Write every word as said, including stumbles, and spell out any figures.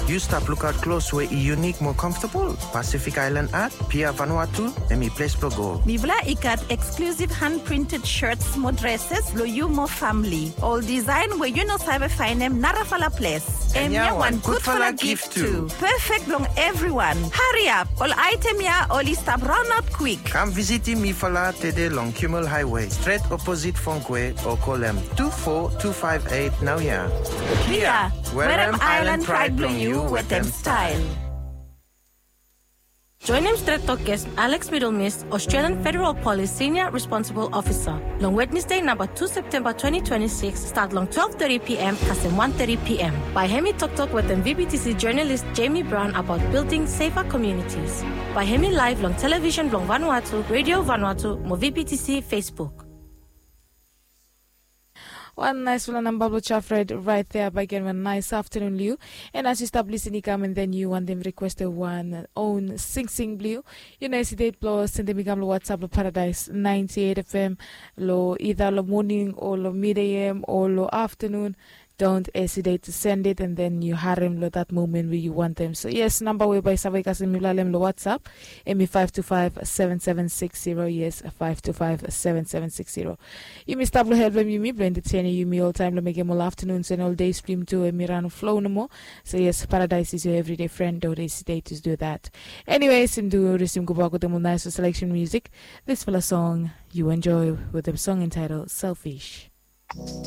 Yu stap lukaot klos we i yunik mo comfortable? Pacific Island Art, Pia Vanuatu, hemi ples blo go. Mifala i gat exclusive hand printed shirts mo dresses blo yu mo famili. Ol design we yu no save faenem narafala ples. Hemia wan gudfala gift tu. Perfect blong evriwan. Hariap, ol item ya oli stap raonaot kwik. Kam visitim mifala tede long Kimmel Highway, stret oposit Fongkwe, o kolem tu fo tu faef eit naoia. Pia, werem island pride blong yu wetem style. Joenem stret toktok long Alex Middlemist, Australian Federal Police Senior Responsible Officer, long Wednesday namba tu Septemba twenty twenty-six, stat long twelve thirty p.m. kasem one thirty p.m. Bae hemi toktok wetem VBTC journalist Jamie Brown about building safer communities. Bae hemi live long television blong Vanuatu, Radio Vanuatu mo VBTC Facebook. Wan naesfala namba blong Jafred right there. Bae givim wan nice afternoon long yu. And as yu stap lisin i kam, and then yu wantem requestem wan own singsing blong yu, yu no hesitate blong sendem i kam long WhatsApp blong Paradise ninety-eight FM long either long moning o long mid AM o long afternoon. Don't hesitate to send it, and then yu harem long that moment we yu wantem. So yes, namba we bae save kasem mifala long WhatsApp, hemi five two five seven seven six zero. Yes, five two five seven seven six zero. Yumi stap long helpem yumi blong entertaining yumi oltaem blong mekem ol afternoons and ol days blong yumi tu hemi ran flow nomo. So yes, Paradise is your everyday friend. Don't hesitate to do that. Anyways, yumi tu risim gobak wetem ol nice selection music. Disfala song yu enjoy wetem song entitled Selfish.